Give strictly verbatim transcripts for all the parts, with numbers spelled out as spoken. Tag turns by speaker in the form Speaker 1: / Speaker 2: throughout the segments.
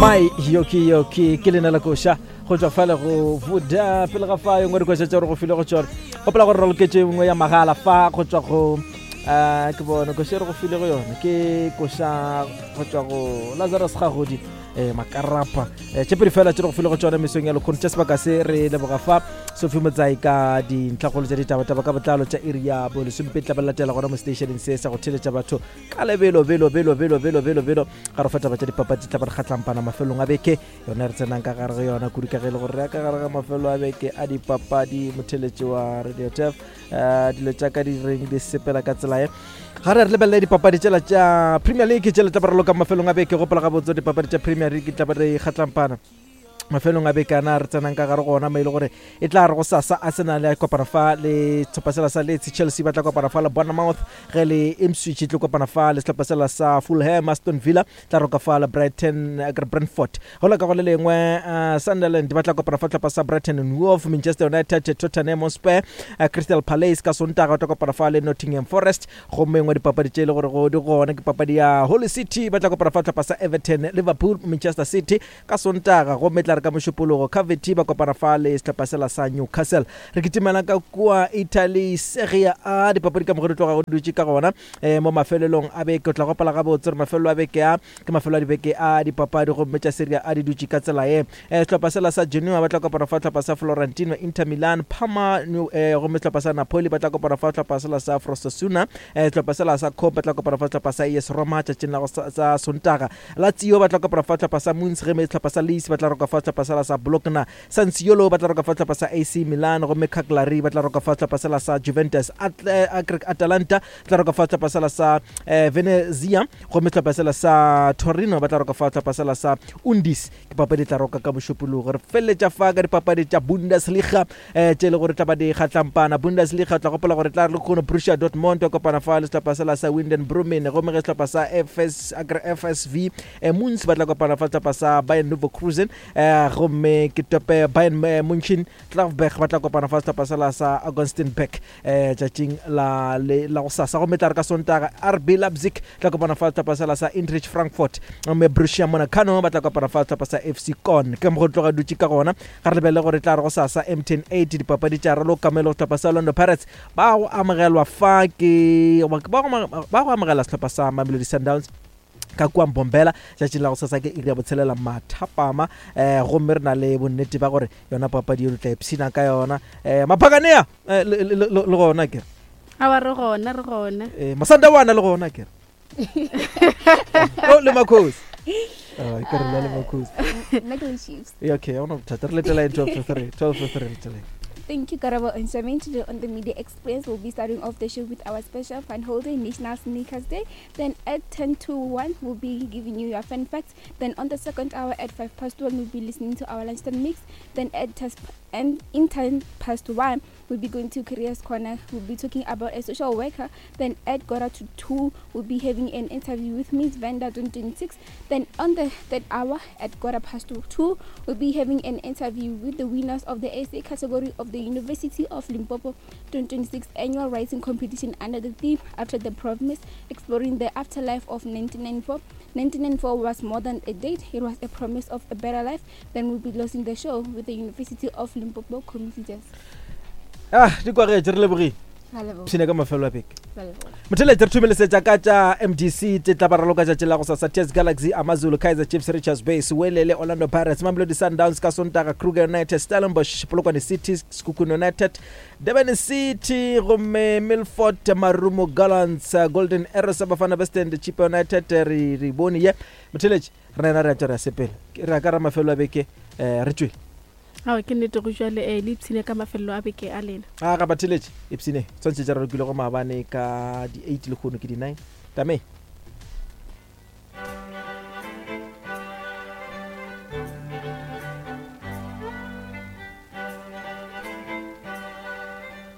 Speaker 1: My yoki yoki ke lena la koša go tswa fale go vuda pele ga fa yengwe dikoša tša gore go file go tsona gopola gore re loketše nngwe ya magala fa go tswa go um ke bone koša e re go file go yona ke koša go tswa go Lazarus Gagodi um makarapa um tše pedi fela tše re go file go tsona mesong ya lekgono tša sebaka se re leboga fa Sophie Motsai ka dintlhakgolo tša ditabataba ka botlalo tša iri ya bolesomepedi tla ba latela gona mo stationeng se sa go theletša batho ka lebelo belo belo belo belo belo belo ga re fa taba tša dipapadi tla ba re kgatlampana mafelong a beke yona re tsenang ka gare ga yona kudu ka ge e le gore re ya ka gare ga mafelo a beke a dipapadi motheletši wa Radio Turf um dilo tša ka di reng di sepela ka tsela ye ga re re lebelele dipapadi tšela tša Premier League tšela tla ba raloka mafelong a beke gopola gabotse dipapadi tša Premier League tla ba re kgatlampana mafelong a beke ana re tsenang ka gare gona mo e le gore e tla re go sasa Arsenal ya kopana fa le sehlopha sela sa Leeds Chelsea ba tla kopana fa le Bournemouth ge le Ipswich e tlo kopana fa le sehlopha sela sa Fulham Aston Villa tla roka fa le Brighton eh, Brentford go la ka go le lengwe uh, Sunderland ba tla kopana fa sehlopha sa Brighton and Hove Manchester United Tottenham Hotspur uh, Crystal Palace ka Sontaga ba tla kopana fa le Nottingham Forest gomme engwe dipapadi tše e le gore go di gona ke papadi ya Hull City ba tla kopana fa sehlopha sa Everton Liverpool Manchester City ka Sontaga gomme tla re ka mošupologo Cavity ba kopana fa le sehlopha sela sa Newcastle re kitimela ka kua Italy Serie A dipapadi ka mogo di tloga go dutše ka gona um mo mafelelong a beke o tla gopola gabotse gore mafelelo a beke a ke mafelo a dibeke a dipapadi gomme tša Serie A di dutše ka tsela ye um sehlopha sela sa Genoa ba tla kopana fa sehlopha sa Florentino Inter Milan Parma um gomme sehlopha sa Napoli ba tla kopana fa sehlopha sela sa Frosinone um sehlopha sela sa Como ba tla kopana fa sehlopha sa A S Roma tšatšing la go sa Sontaga Lazio ba tla kopana fa sehlopha sa Munz ge sehlopha sa Lecce ba tla roka fa sehlopha sela sa Bologna Sassuolo ba tla roka fa sehlopha sa A C Milan gomme Cagliari ba tla roka fa sehlopha sela sa Juventus Atalanta tla roka fa sehlopha sela sa Venezia gomme sehlopha sela sa Torino ba tla roka fa sehlopha sela sa Undis ke papadi tla roka ka mošupologo re feleletša fa ka dipapadi tša Bundesliga um tše e le gore tla ba di kgatlampana Bundesliga tla gopola gore tla re le kgono Borussia Dortmund wa kopana fa le sehlopha sela sa Werder Bremen gomme ge sehlopha sa F S F S V Munz ba tla kopana fa sehlopha sa Bayern Leverkusen um gomme ke tope Bayern Munchen Gladbach ba tla kopana fa sehlopha sela sa Augustenburg um tšatšing la la go sasa gomme tla re ka Sontaga R B Leipzig tla kopana fa sehlopha sela sa Eintracht Frankfurt gomme Borussia Monacano ba tla kopana fa sehlopha sa F C Köln ke mo go tloga dutše ka gona ga re lebelele gore tla re go sasa M ten eight dipapadi tša raloka mo e le go sehlopha sa Orlando Pirates ba go amogelwa fa ke ba go amogela sehlopha sa Mamelodi Sundowns ka kua Mbombela tšatšing la go sasa ke iri ya botshelela mathapama um gomme re na le bonnete ba gore yona papadi eo re tla ipshina ka yona um maphakanea le gona kere
Speaker 2: awa re gona re gona
Speaker 1: um masandawana le gona kere o le makhosi ke re le makhosi okay ga gona bothata re letela twelve to three twelve to three leteleng.
Speaker 3: Thank you, Karabo and Charmaine. Today on the Media Experience, we'll be starting off the show with our special fun holder, National Sneakers Day. Then at ten to one, we'll be giving you your fun facts. Then on the second hour at five past one, we'll be listening to our lunchtime mix. Then at ten, and in ten past one, we'll be going to Careers Corner. We'll be talking about a social worker. Then at quarter to two, we'll be having an interview with Miss Venda twenty twenty-six. Then on the third hour at quarter past two, we'll be having an interview with the winners of the essay category of the University of Limpopo twenty twenty-six annual writing competition under the theme After the Promise, exploring the afterlife of nineteen ninety-four. nineteen ninety-four was more than a date, it was a promise of a better life. Then we'll be closing the show with the University of Limpopo Community Desk.
Speaker 1: Ah, di kwagetše re lebogile. Pshine ka mafelo a beke. Motheletše re thomelesetša ka tša M D C tše tla ba raloka tšatši la go sasa T S Galaxy, Amazulu, Kaizer Chiefs, Richards Bay, Siwelele, Orlando Pirates, Mamelodi Sundowns ka Sontaga, Kruger United, Stellenbosch, Polokwane City, Sekhukhune United, Durban City, gomme Milford, Marumo Gallants, Golden Arrows, Bafana Western, Chippa United re re bone ye. Motheletše re nena re a tšwa re a sepela. Re a ka ra mafelo a beke eh re tšwele.
Speaker 2: Ao ke nnete go jwale eh le ipshine ka mafelelo a beke a lena.
Speaker 1: A ga batheletše ipshine tshwantšhe tša re lokile go maabane ka di eight le kgono ke di nine. Tame.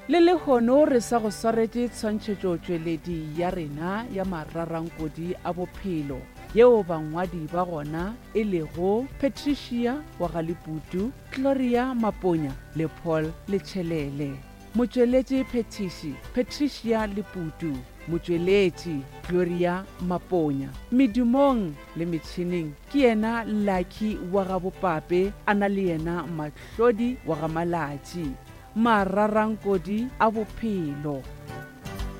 Speaker 4: Le lehono re sa go swaretše tshwantšhetšo tšweledi ya rena ya mararankodi a bophelo yeo bangwadi ba gona e lego Patricia wa Galeputu, Gloria Maponya le Paul Lechelele. Motšweletši phetiši Patricia Leputu, Motšweletši Gloria Maponya. Medumong le metšhineng ke yena Lucky wa ga Bopape, a na le yena Mahlodi wa ga Malatši. Mararankodi a bophelo.